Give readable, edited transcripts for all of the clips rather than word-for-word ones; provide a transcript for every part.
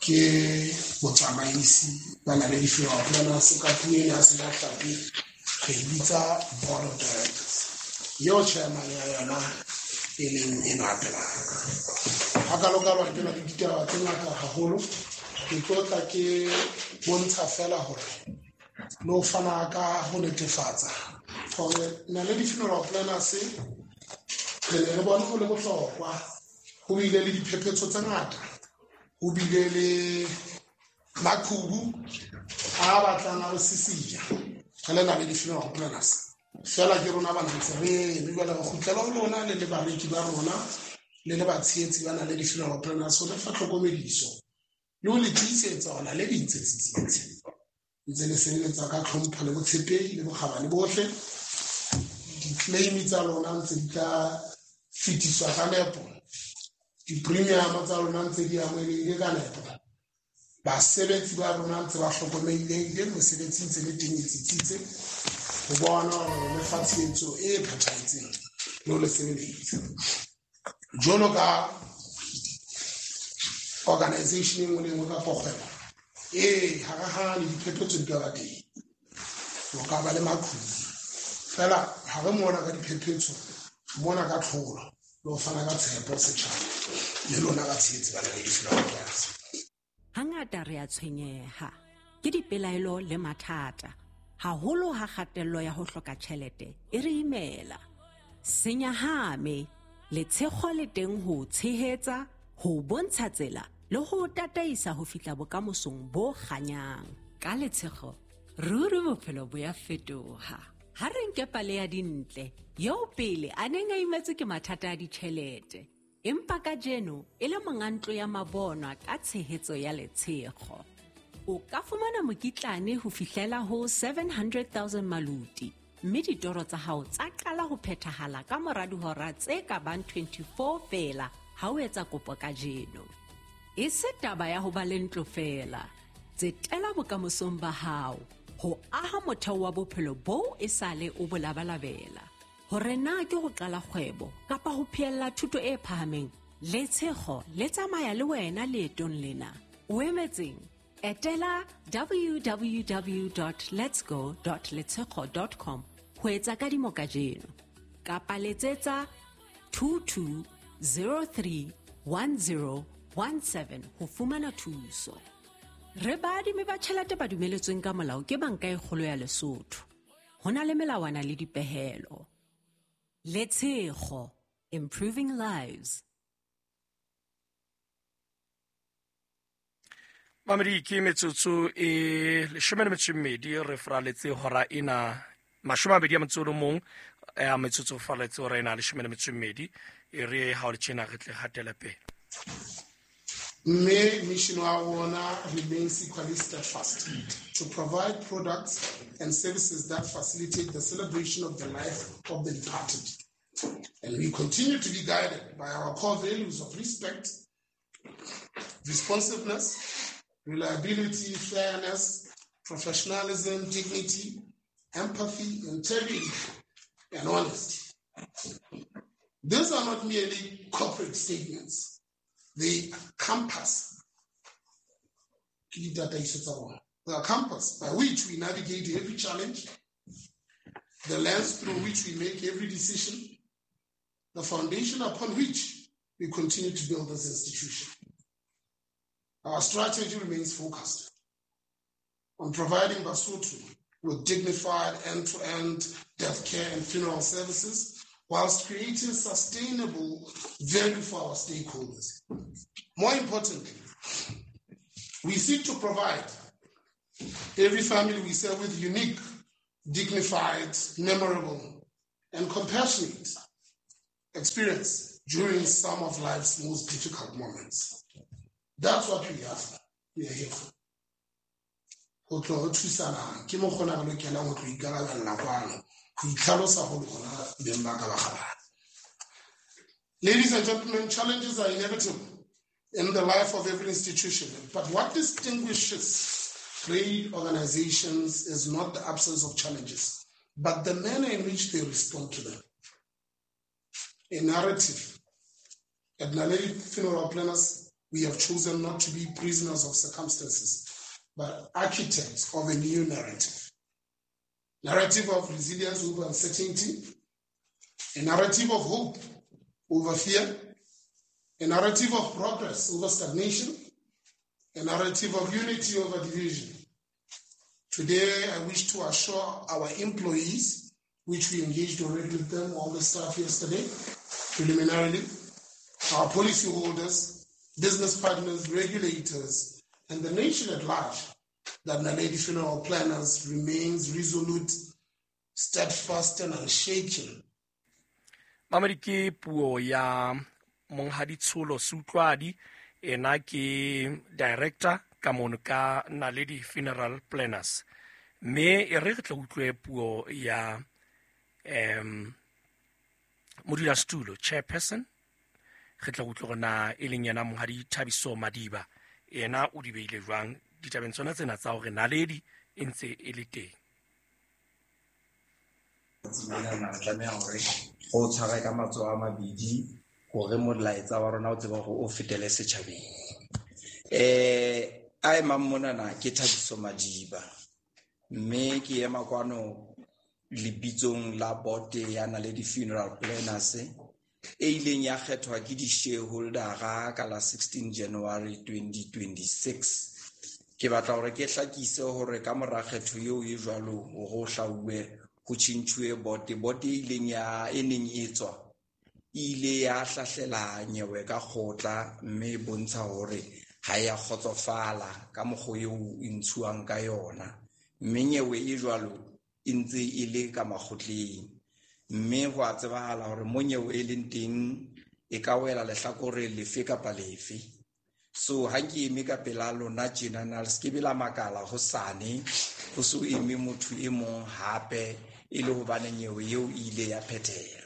Ke botsamaisi ba Naledi Funeral Planners ka puo ena ya Sejatlhapi re e bitsa board of directors, eo chairman ya yona e leng enwa pela ka. Hakalokalo ha ke na le ditaba tse ngata haholo, ke tlo tla ke bontsha fela hore le ho fana ka ho netefatsa hore Naledi Funeral Planners re ne re bone ho le bohlokwa. Ho bile le diphephetso tse ngata, ho bile le maqhubu a batlang a re sisinya re le Naledi Funeral Planners, fela ke rona ba ntse re eme. Jwale re kgutlela ho lona le le bareki ba rona le le batshehetsi ba Naledi Funeral Planners ho le fa tlhokomediso le ho le tiisetsa hore Naledi ntse tsitsitse, ntse le sebeletsa ka tlhompho le botshepehi le bokgabane bohle. Di-claim tsa lona ntse di tla fetiswa ka nepo, di-premium tsa lona ntse di amohelehile ka nepo, basebetsi ba rona ntse ba hlokomelehile, mesebetsi ntse le teng e tsitsitse ho bona hore le fa tshehetso e phethahetseng le ho le sebeletsa jwalo ka organization e nngwe le e nngwe kapa kgwebo. Ee, hare diphephetso di ka ba teng, o ka ba le maqhubu, fela ha re mona ka diphephetso, mona ka tlholo le ho fana ka tshepo setjhaba le lona batshehetsi ba Naledi Funeral Planners. Hangata re a tshwenyeha ke dipelaelo le mathata, haholo ha kgatello ya ho hloka tjhelete e re imela. Se nyahame, Letshego le teng ho o tshehetsa, ho o bontsha tsela le ho o tataisa ho fihla bokamosong bo kganyang. Ka Letshego, ruri bophelo bo ya fetoha. Ha re nke pale ya Dintle, eo pele a neng a imetswe ke mathata a ditjhelete, empa kajeno e le monga ntlo ya mabonwa ka tshehetso ya Letshego. O ka fumana mokitlane ho fihlela ho 700,000 maluti, mme ditoro tsa hao tsa qala ho phethahala ka mora dihora tse ka bang 24 feela ha o etsa kopo kajeno. E se taba ya ho ba le ntlo feela. Tsetela bokamosong ba hao ho aha motheo wa bophelo boo e sale o bo labalabela. Hore na ke ho qala kgwebo kapa ho phehella thuto e phahameng, Letshego le tsamaya le wena leetong lena. O emetseng? Etela www.letsgo.letshego.com ho etsa kadimo kajeno kapa letsetsa 22031017 ho fumana thuso. Re baadimi ba tjhelete ba dumeletsweng ka molao ke Banka e Kgolo ya Lesotho. Ho na le melawana le dipehelo. Letshego, improving lives. Mamedi, ke metsotso e 12 re fraletse hora ena 21 ya metsotso faraletse hora ena 12 e re ha o le tjena re tle hatela pele. Mme mission wa rona remains equally steadfast: to provide products and services that facilitate the celebration of the life of the departed. And we continue to be guided by our core values of respect, responsiveness, reliability, fairness, professionalism, dignity, empathy, integrity, and honesty. These are not merely corporate statements. They compass the compass by which we navigate every challenge, the lens through which we make every decision, the foundation upon which we continue to build this institution. Our strategy remains focused on providing Basotho with dignified end-to-end death care and funeral services whilst creating sustainable value for our stakeholders. More importantly, we seek to provide every family we serve with unique, dignified, memorable, and compassionate experience during some of life's most difficult moments. That's what we are for. We are here for. Ho tlo re thusana ke mokgona re lokelang ho tlo ikarabella kwano ho itlhalosa ho lona beng ba ka ba kgabane. Ladies and gentlemen, challenges are inevitable in the life of every institution. But what distinguishes great organizations is not the absence of challenges, but the manner in which they respond to them. A narrative. At Naledi Funeral Planners, We have chosen not to be prisoners of circumstances, but architects of a new narrative. Narrative of resilience over uncertainty, a narrative of hope over fear, a narrative of progress over stagnation, a narrative of unity over division. Today, I wish to assure our employees, which we engaged already with them, all the staff yesterday, preliminarily, our policyholders, business partners, regulators, and the nation at large, that Naledi Funeral Planners remains resolute, steadfast, and unshaken. Mamedi, ke puo ya Monghadi Tsholo Seutlwadi, ena ke director ka mono ka Naledi Funeral Planners. Mme e re re tla utlwe puo ya modulasetulo, chairperson. Re tla utlwe gore na e leng yena Monghadi Thabiso Madiba, ena o di beile jwang ditabeng tsona tsena tsa hore Naledi e ntse e le teng. Tsatsing re tlameha hore go tshware ka matsoho a mabedi hore molaetsa wa rona o tsebe hore o fetele setjhabeng. A emang monana ke Thabiso Madiba, mme ke ema kwano lebitsong la board ya Naledi Funeral Planners e ileng ya kgethwa ke di-shareholdera ka la 16 January 2026. Ke batla hore ke hlakise hore ka mora kgetho eo e jwalo hore ho hlauwe ho tjhentjhuwe board, board e ileng ya e neng e tswa e ile ya hlahlela nyewe ka kgotla, mme e bontsha hore ha ya kgotsofala ka mokgwa eo e ntshuwang ka yona, mme nyewe e jwalo e ntse e le ka makgotleng. Mme ho a tsebahala hore mo nyewe e leng teng e ka wela lehlakore lefe kapa lefe. So ha ke eme ka pela lona tjenana, le se ke be la makala hosane ho so eme motho e mong hape e le hobane nyewe eo e ile ya phethelwa.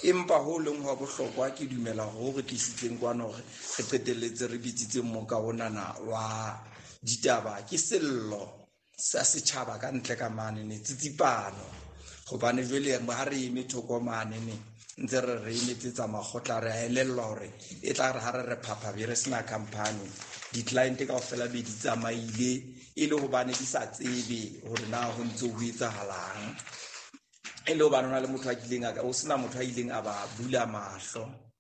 Empa ho leng hwa bohlokwa, ke dumela hore re tlisitseng kwano hore re qetelletse re bitsitse moka onana wa ditaba ke sello sa setjhaba ka ntle ka mane ne tsitsipano, hobane jwale ha re eme thoko mane ne ntse re re emetsetsa makgotla, re a elellwa hore e tla re ha re re phapha be re sena company, di-client kaofela be di tsamaile e le hobane di sa tsebe hore na ho ntse ho etsahalang, e le hobane ho na le motho a kileng a o sena motho a ileng a ba bula mahlo.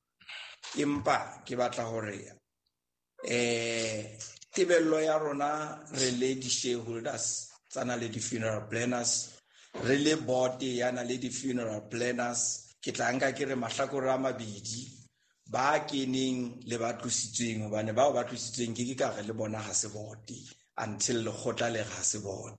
Empa ke batla hore tebello ya rona re le di-shareholders tsa Naledi Funeral Planners, re le board ya Naledi Funeral Planners, ke tla nka ke re mahlakore a mabedi, ba keneng le ba tlositsweng, hobane bao ba tlositsweng ke ka re le bona ha se board until lekgotla le re ha se board.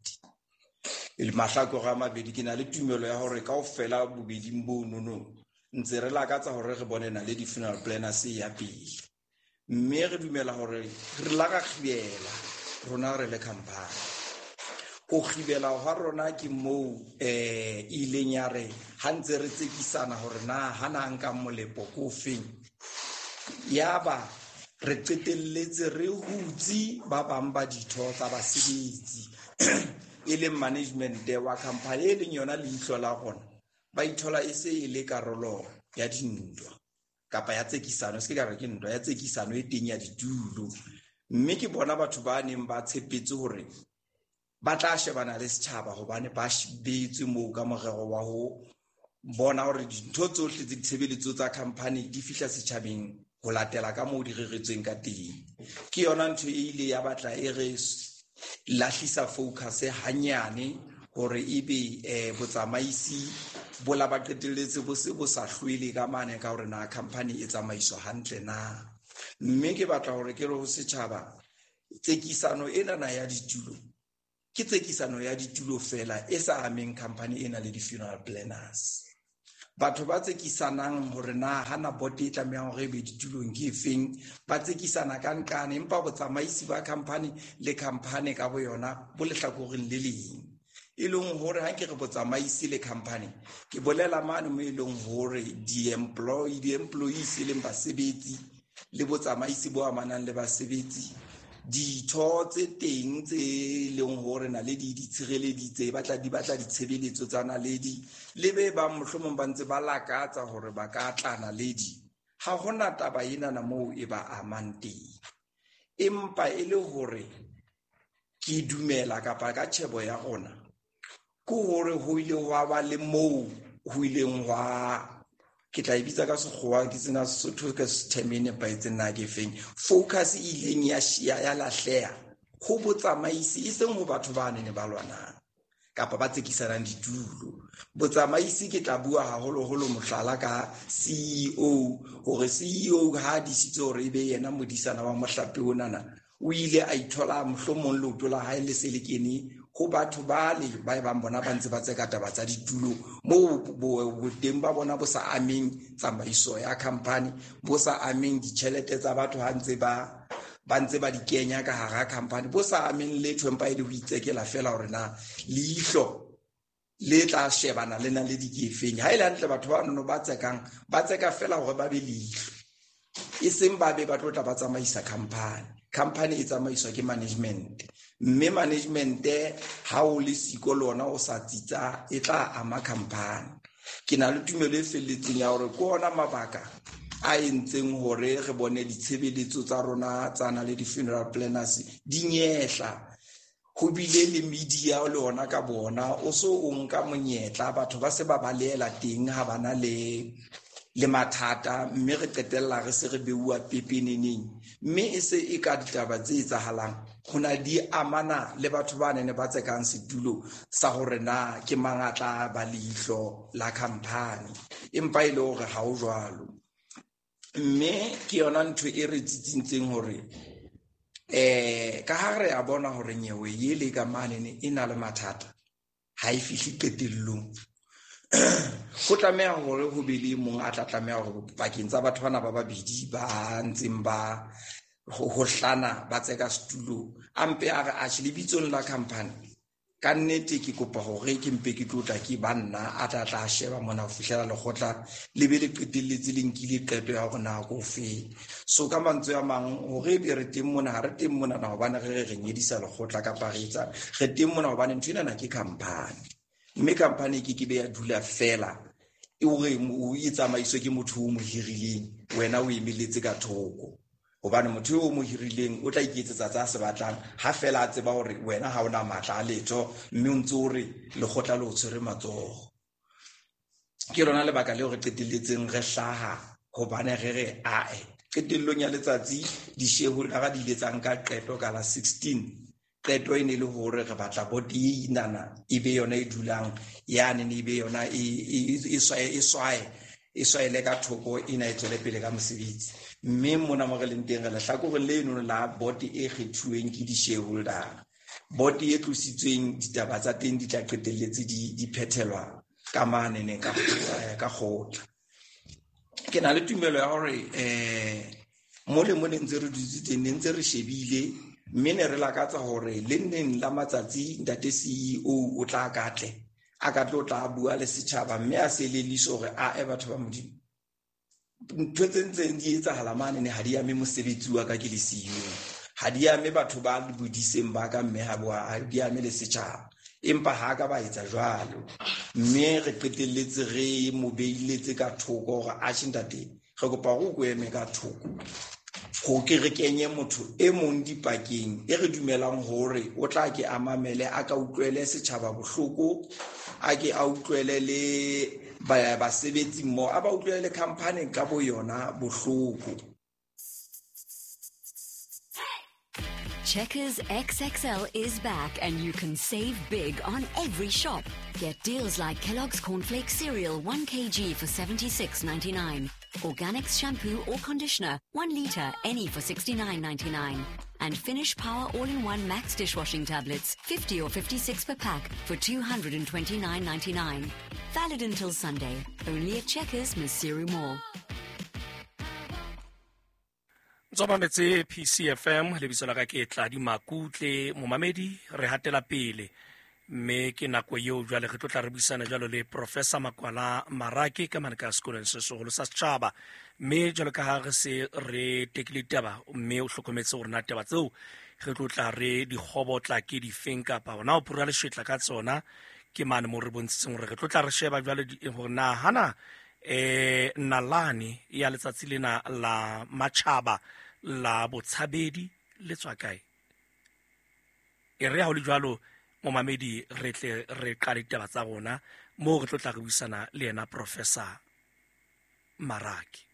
Mahlakore a mabedi, ke na le tumelo ya hore kaofela bobeding bo nono ntse re lakatsa hore re bone Naledi Funeral Planners ya pele, mme re dumela hore re la ka kgibela rona re le company. Ho kgibela hwa rona ke moo ileng ya re ha ntse re tsekisana hore na ha na nka molepo ko feng, yaba re qetelletse re hutse ba bang ba ditho tsa basebetsi e leng management wa company e leng yona leihlo la rona, ba ithola e se e le karolo ya dintwa kapa ya tsekisano, se ke ka re ke ntwa ya tsekisano e teng ya ditulo. Mme ke bona batho ba neng ba tshepetse hore ba tla shebana le setjhaba hobane ba beetswe moo ka morero wa ho bona hore dintho tsohle tse ditshebeletso tsa company di fihla setjhabeng ho latela ka moo di reretsweng ka teng. Ke yona ntho e ile ya batla e re lahlisa focus hanyane hore ebe botsamaisi bo la ba qetelletse bo se bo sa hlwele ka mane ka hore na company e tsamaiswa hantle na. Mme ke batla hore ke re ho setjhaba, tsekisano enana ya ditulo ke tsekisano ya ditulo fela e sa ameng company ena le di-funeral planners. Batho ba tsekisanang hore na hana board e tlamehang hore e be ditulong ke efeng, ba tsekisana ka nqane, empa botsamaisi ba company le company ka boyona bo lehlakoreng le leng. E leng hore ha ke re botsamaisi le company, ke bolela mane mo e leng hore di-employees e leng basebetsi le botsamaisi bo amanang le basebetsi, ditho tse teng tse leng hore Naledi di tshireleditse, di batla ditshebeletso tsa Naledi, le be bang mohlomong ba ntse ba lakatsa hore ba ka tla Naledi, Ha hona taba enana moo e ba amang teng, empa e le hore ke dumela kapa ka tjhebo ya rona ke hore ho ile hwa ba le moo ho ileng hwa, ke tla e bitsa ka sekgowa ke tsena Sesotho ka term e nepahetseng na ke feng, focus e ileng ya lahleha ho botsamaisi, e seng ho batho ba nene ba lwanang kapa ba tsekisanang ditulo. Botsamaisi ke tla bua haholoholo mohlala ka CEO, hore CEO ha disitse hore ebe yena modisana wa mohlape onana, o ile a ithola mohlomong leoto la hae le se le kene ho batho bale ba bang bona ba ntse ba tseka taba tsa ditulo moo boteng ba bona bo sa ameng tsamaiso ya company, bo sa ameng ditjhelete tsa batho ha ntse ba ntse ba di kenya ka hara company, bo sa ameng letho, empa e le ho itsekela fela hore na leihlo le tla shebana le na le dikefeng. Ha e le hantle batho ba nono ba tsekang ba tseka fela hore ba be leihlo, e seng ba be ba tlo tla ba tsamaisa company. Company e tsamaiswa ke management, mme management ha o le siko lona o sa tsitsa e tla ama company. Ke na le tumelo e felletseng ya hore ke ona mabaka a entseng hore re bone ditshebeletso tsa rona tsa na le di-funeral planners di nyehla. Ho bile le media le ona ka bona o so o nka monyetla, batho ba se ba balehela teng ha bana le mathata, mme re qetella re se re beuwa pepeneneng, mme e se e ka ditaba tse etsahalang ho na di amana le batho ba nene ba tsekang setulo sa hore na ke mang a tla ba leihlo la company, empa e le hore ha ho jwalo. Mme ke yona ntho e re tsitsintseng hore ka ha re a bona hore nyewe ele ka mane e na le mathata, ha e fihle qetellong, ho tlameha hore ho be le mong a tla tlameha hore pakeng tsa batho bana ba babedi ba ntseng ba ho hlana ba tseka setulo, a mpe a re atjhe lebitsong la company ka nnete ke kopa hore ke mpe ke tlotla ke banna a tla tla sheba mona ho fihlela lekgotla le be le qetelletse le nkile qeto ya hore na ko fe. So ka mantswe a mang, hore ebe re teng mona, ha re teng mona na hobane re nyedisa lekgotla kapa re etsa, re teng mona hobane ntho enana ke company, mme company ke be ya dula fela e hore o e tsamaiswe ke motho o mo hirileng, wena o emeletse ka thoko, hobane motho eo o mo hirileng o tla iketsetsa tsa se batlang ha fela a tseba hore wena ha ona matla a letho, mme o ntse o re lekgotla le o tshwere matsoho. Ke lona lebaka leo re qetelletseng re hlaha, hobane re re ae qetellong ya letsatsi di-shareholder di ile tsa nka qeto ka la 16. Qeto e ne le hore re batla board e inana e be yona e dulang yane, e be yona e swaele ka thoko ena e tswele pele ka mosebetsi. Mme mona mo re leng teng re lehlakoreng leno la board e kgethuweng ke di-shareholder, board e tlositsweng ditaba tsa teng di tla qetelletse di phethelwa ka manene ka kgotla. Ke na le tumelo ya hore mo le mo ne ntse re dutse teng, ne ntse re shebile, mme ne re lakatsa hore le nneng la matsatsi ntate CEO o tla katle a ka tlo tla bua le setjhaba, mme a se leliso hore a e batho ba Modimo ntho tse ntseng di etsahala mane ne ha di ame mosebetsi wa ka ke le CEO, ha di ame batho ba bodiseng ba ka, mme ha di ame le setjhaba, empa ha ka ba etsa jwalo. Mme re qetelletse re mo beiletse ka thoko hore atjhe ntate, re kopa hore o ko eme ka thoko ho ke re kenye motho e mong dipakeng e re dumelang hore o tla ke a mamele, a ka utlwele setjhaba bohloko, a ke a utlwele le basebetsi mmoho, a ba utlwele le company ka bo yona bohloko. Checkers XXL is back and you can save big on every shop. Get deals like Kellogg's Cornflakes Cereal 1 kg for $76.99. Organics shampoo or conditioner 1 litre any for $69.99. And Finish Power All-in-One Max dishwashing tablets 50 or 56 per pack for $229.99. Valid until Sunday. Only at Checkers, Maseru Mall. Tsomametse PCFM lebitso la ka ke Tladi Makutle momamedi, re hatela pele mme ke nako eo jwale re tlo tla re buisana jwalo le Professor Makwala Marake ka mane ka sekolong se seholo sa setjhaba. Mme jwalo ka ha re se re tekile ditaba, mme o hlokometse hore na taba tseo re tlo tla re di kgobotla ke difeng kapa hona ho phura leshetla ka tsona, ke mane moo re bontshitseng hore re tlo tla re sheba jwale hore na hana Nalane ya letsatsi lena la matjhaba la botshabedi le tswa kae? E re ha ho le jwalo, momamedi, re tle re qale ditaba tsa rona moo re tlo tla re buisana le yena Professor Maraki.